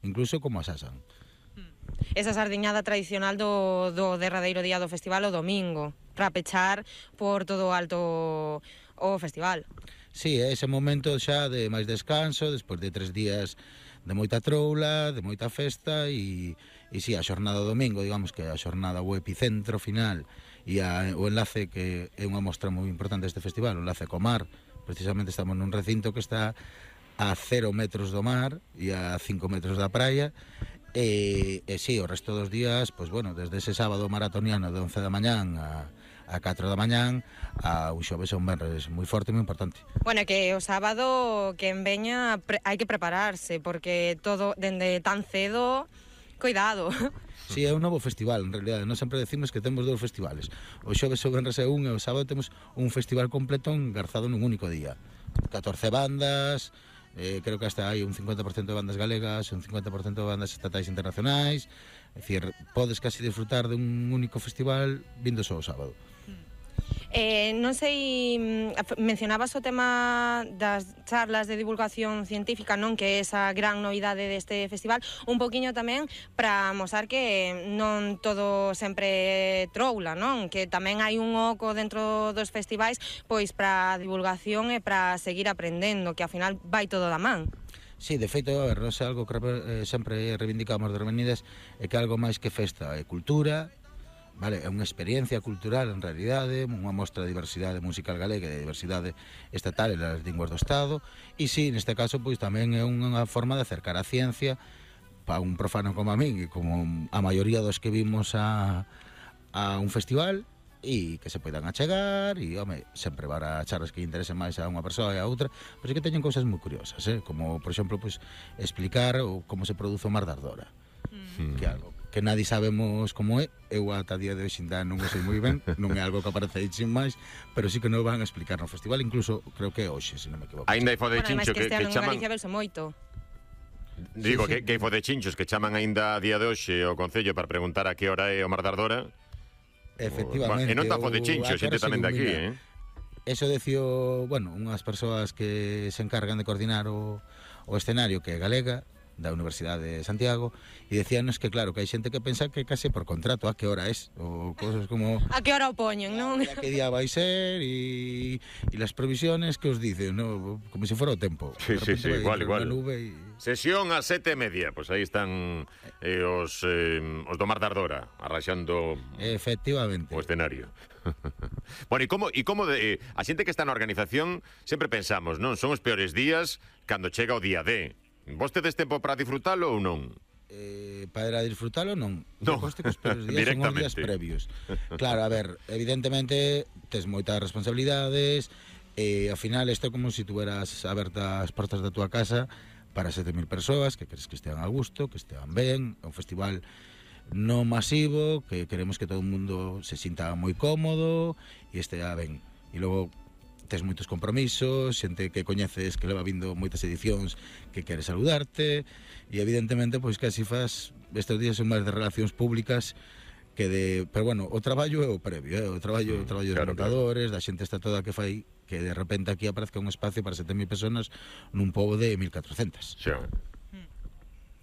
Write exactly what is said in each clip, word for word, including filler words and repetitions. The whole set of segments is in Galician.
incluso como asasan. Esa sardiñada tradicional do, do derradeiro día do festival o domingo, para pechar por todo o alto o festival. Sí, é ese momento xa de máis descanso, despois de tres días de moita troula, de moita festa, e, e sí, a xornada do domingo, digamos que a xornada, o epicentro final, e a, o enlace que é unha mostra moi importante deste festival, o enlace co mar. Precisamente estamos nun recinto que está a cero metros do mar e a cinco metros da praia. E, e sí, o resto dos días, pois bueno, desde ese sábado maratoniano de once da mañán a, a catro da mañán a un xoves e un venres moi forte e moi importante. Bueno, que o sábado que en veña pre, hai que prepararse, porque todo dende tan cedo, cuidado. Sí, é un novo festival, en realidad. Nós sempre decimos que temos dous festivales. O xoves e o venres é un, e o sábado temos un festival completo engarzado nun único día. catorce bandas, eh, creo que hasta hai un cincuenta por ciento de bandas galegas, un cincuenta por ciento de bandas estatais internacionais. É dicir, podes casi disfrutar de un único festival vindo só o sábado. Eh, non sei, mencionabas o tema das charlas de divulgación científica, non, que é esa gran novidade deste festival, un poquinho tamén para mostrar que non todo sempre troula, non, que tamén hai un oco dentro dos festivais pois para divulgación e para seguir aprendendo, que ao final vai todo da man. Sí, de feito, a ver, nós algo que eh, sempre reivindicamos de Revenidas é que algo máis que festa é cultura. Vale, é unha experiencia cultural en realidade, unha mostra de diversidade musical galega e de diversidade estatal e das linguas do Estado, e sí, neste caso, pois tamén é unha forma de acercar a ciencia para un profano como a min e como a maioría dos que vimos a, a un festival, e que se poidan achegar, e, home, sempre para charlas que interesen máis a unha persoa e a outra, pois é que teñen cousas moi curiosas, eh? Como, por exemplo, pois, explicar o, como se produce o mar de Ardora, mm. que é algo que nadie sabemos como é, eu ata día de hoxe ainda non o sei moi ben, non é algo que aparece aí sin máis, pero sí que non van a explicar no festival, incluso creo que é hoxe, se non me equivoco. Ainda hai fodechincho bueno, que, que, que chaman... Galicia verse moito. Digo, sí, sí. que, que hai fodechinchos que chaman ainda a día de hoxe o Concello para preguntar a que hora é o mar de Ardora. Efectivamente. Bueno, e non está fodechincho, xente tamén de aquí, eh? Eso decio, bueno, unhas persoas que se encargan de coordinar o, o escenario, que é galega, da Universidade de Santiago, e decíanos que claro, que hai xente que pensa que case por contrato a que hora es, ou cosas como a que hora o poñen, non? A que día vai ser, e, e las previsiones que os dicen, ¿no? Como se si fora o tempo. Sí, sí, sí, igual, igual. Y... Sesión a sete e media, pois pues aí están eh, os, eh, os do Mar de Ardora, arraxando efectivamente o escenario. Bueno, e como, e como de, eh, a xente que está na organización sempre pensamos, non? Son os peores días cando chega o día D. Vos tedes tempo para disfrutalo ou non? Eh, para disfrutalo non. No, que os peores días son os días previos. Claro, a ver, evidentemente tes moitas responsabilidades, e ao final isto é como se si tuveras abertas as portas da tua casa para sete mil persoas que queres que estean a gusto, que estean ben. É un festival non masivo, que queremos que todo o mundo se sinta moi cómodo e estea ben. E logo tes moitos compromisos, xente que coñeces que leva vindo moitas edicións que quere saludarte, e evidentemente pois casi faz, estes días son máis de relacións públicas que de, pero bueno, o traballo é o previo, eh? o traballo, o traballo claro, dos montadores, claro. Da xente está toda que fai que de repente aquí aparezca un espacio para sete mil personas nun pobo de mil catrocentas. Sí.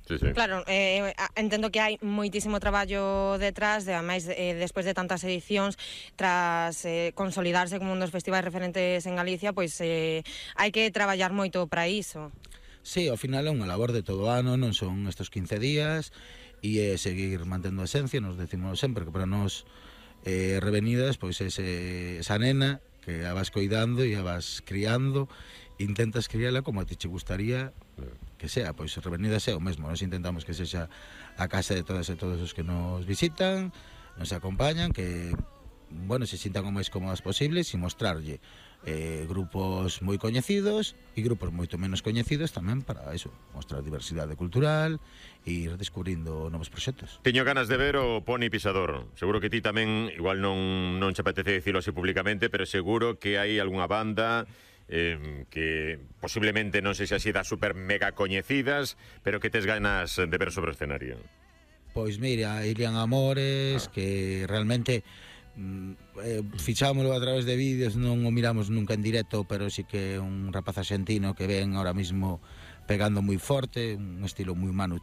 Sí, sí. Claro, eh, entendo que hai moitísimo traballo detrás, de, ademais, eh, despois de tantas edicións, tras eh, consolidarse como un dos festivais referentes en Galicia, pois eh, hai que traballar moito para iso. Sí, ao final é unha labor de todo o ano, non son estes quince días, e é seguir mantendo a esencia, nos decimos sempre que para nós eh, Revenidas, pois ese, esa nena que a vas coidando e a vas criando, intentas criala como a ti che gustaría que sea, pois Revenidas é o mesmo. Nos intentamos que sexa a casa de todas e todos os que nos visitan, nos acompañan, que, bueno, se sintan o máis cómodas posibles, e mostrarlle eh, grupos moi coñecidos e grupos moito menos coñecidos tamén, para eso, mostrar diversidade cultural e ir descubrindo novos proxectos. Teño ganas de ver o Poni Pisador. Seguro que ti tamén, igual non, non che apetece dicilo así públicamente, pero seguro que hai algunha banda Eh, que posiblemente non sei se así das super mega coñecidas, pero que tes ganas de ver sobre o escenario. Pois mira, Ilian Amores, ah. que realmente mm, eh, fichámoslo a través de vídeos, non o miramos nunca en directo, pero sí que é un rapaz argentino que ven ahora mismo pegando moi forte, un estilo moi Manu